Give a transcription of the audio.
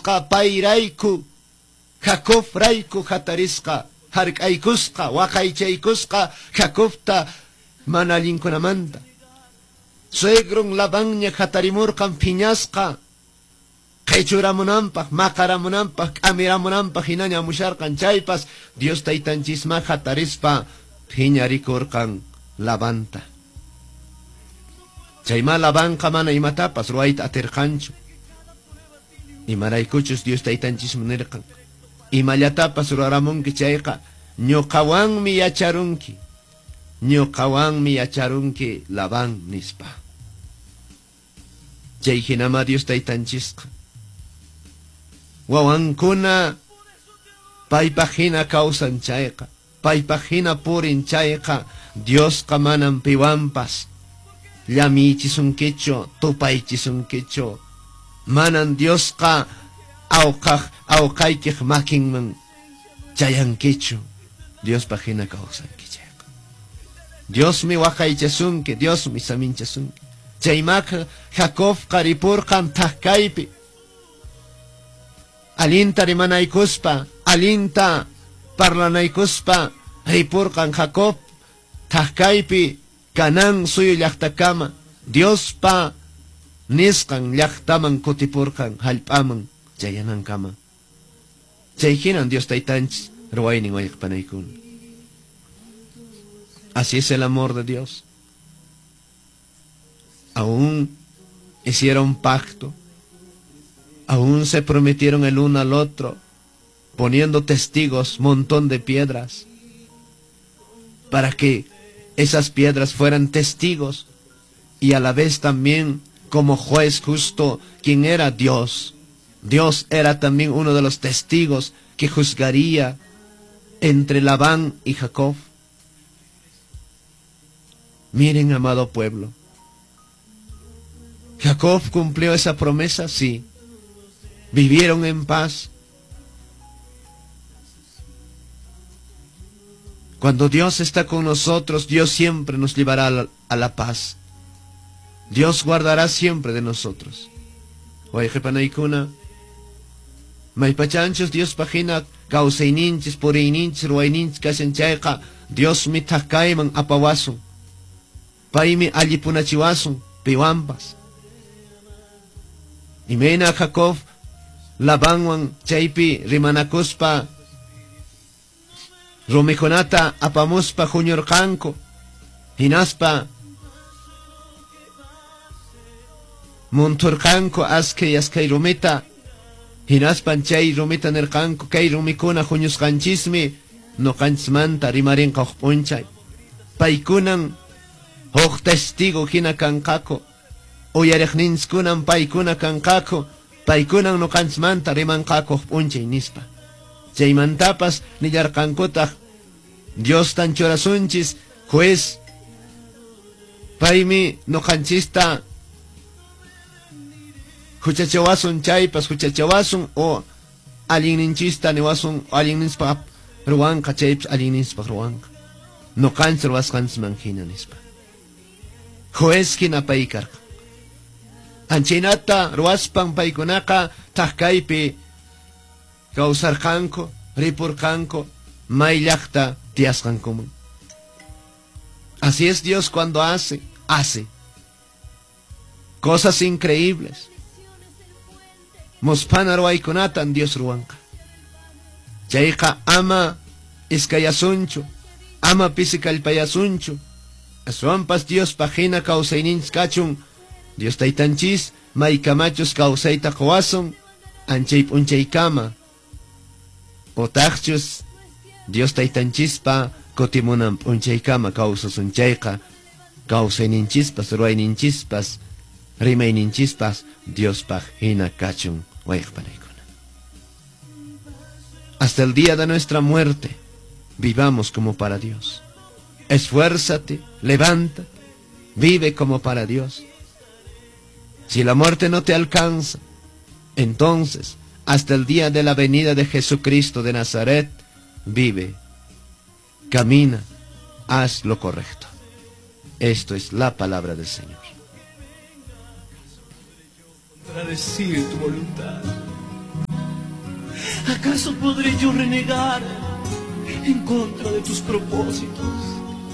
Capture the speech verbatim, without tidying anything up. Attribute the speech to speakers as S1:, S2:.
S1: Diosqa payrayku Jacob rayku hatarisqa, hark'aykusqa, waqaychaykusqa Jacobta mana allinkunamanta. Suegron Labanña hatarimurqan phiñasqa, qhichuramunanpaq, maqaramunanpaq, k'amiramunanpaq hinaña amusharqan chaypas Dios taytanchisma hatarispa phiñarikurqan Labanta. Chayma Labanqa mana imatapas ruwayta atirqanchu. Imaraykuchus Dios taytanchismi nirqan, imallatapas ruramunki chayqa ñuqawanmi yacharunki, ñuqawanmi yacharunki Labán nispa. Chay hinama Dios taytanchisqa wawankuna paypaq hina kawsan chayqa, paypaq hina purin chayqa, Diosqa manam piwanpas llamichisunkichu, tupaychisunkichu. Manan Diosqa awqaq awqaykiq makinman chayankichu. Diospaq hina kawsanki chayqa. Diosmi waqaychasunki, Diosmi saminchasunki. Chaymaqa Jacobqa ripurqan thaqkaypi. Allinta rimanaykuspa, allinta parlanaykuspa ripurqan Jacob thaqkaypi Canaán suyu llaqtakama, Diospa nisqan llaqtaman kutipurqan hallp'aman chayanankama. Chay hinan Dios taytanchis ruwaynin wayqpanaykuna. Así es el amor de Dios. Aún hicieron pacto, aún se prometieron el uno al otro, poniendo testigos, montón de piedras, para que esas piedras fueran testigos y a la vez también como juez justo, quien era Dios. Dios era también uno de los testigos que juzgaría entre Labán y Jacob. Miren, amado pueblo, Jacob cumplió esa promesa, sí. Vivieron en paz. Cuando Dios está con nosotros, Dios siempre nos llevará a la, a la paz. Dios guardará siempre de nosotros. Wayqipanaykuna, maypachanchus Dios pajina kawsayninchis, puriyninchis, ruwayninchis kashan chayqa, Diosmi thaqkayman apawasun. Paymi allipunachiwasun piwanpas. Imayna Jacob Labanwan chaypi rimanakuspa rumikunata apamuspa huñurqanku, hinaspa munturqanku askay askay rumita, hinaspan chay rumita nirqanku kay rumikuna huñusqanchismi nuqanchismanta rimarinqa huk p'unchay. Paykunan huk testigo hina kanqaku, uyariqninchikunan paykuna kanqaku, paykunan nuqanchismanta rimanqaku huk p'unchay nispa. Chaymantapas nillarqankutaq Diostan churasunchis juez, paymi nuqanchista huchachawasun chaypas huchachawasun o allinninchista niwasun allinninchpaq ruwanqa chaypas allinninchpaq ruwanqa nuqanchis ruwasqanchisman hina nispa. Juez hina pay karqa. Anchaynata ruwaspan paykunaqa thaqkaypi kawsarqanku, ripurqanku, may llaqta tiyasqankuman. Así es Dios cuando hace, hace cosas increíbles. Musphana ruwaykunatan Dios ruwanqa. Chayqa ama iskayasunchu, ama pisi kallpayasunchu. Aswanpas Diospaq hina kawsayninchis kachun. Dios taytanchis maykamachus kawsayta quwasun anchay p'unchaykama. Otaqchus Dios taytanchispa kutimunan p'unchaykama kawsasun chayqa kawsayninchispas, ruwayninchispas, rimayninchispas Diospaq hina kachun wayqpanaykuna. Hasta el día de nuestra muerte vivamos como para Dios. Esfuérzate, levántate, vive como para Dios. Si la muerte no te alcanza, entonces hasta el día de la venida de Jesucristo de Nazaret, vive, camina, haz lo correcto. Esto es la palabra del Señor.
S2: Contradecir tu voluntad. ¿Acaso podré yo renegar en contra de tus propósitos?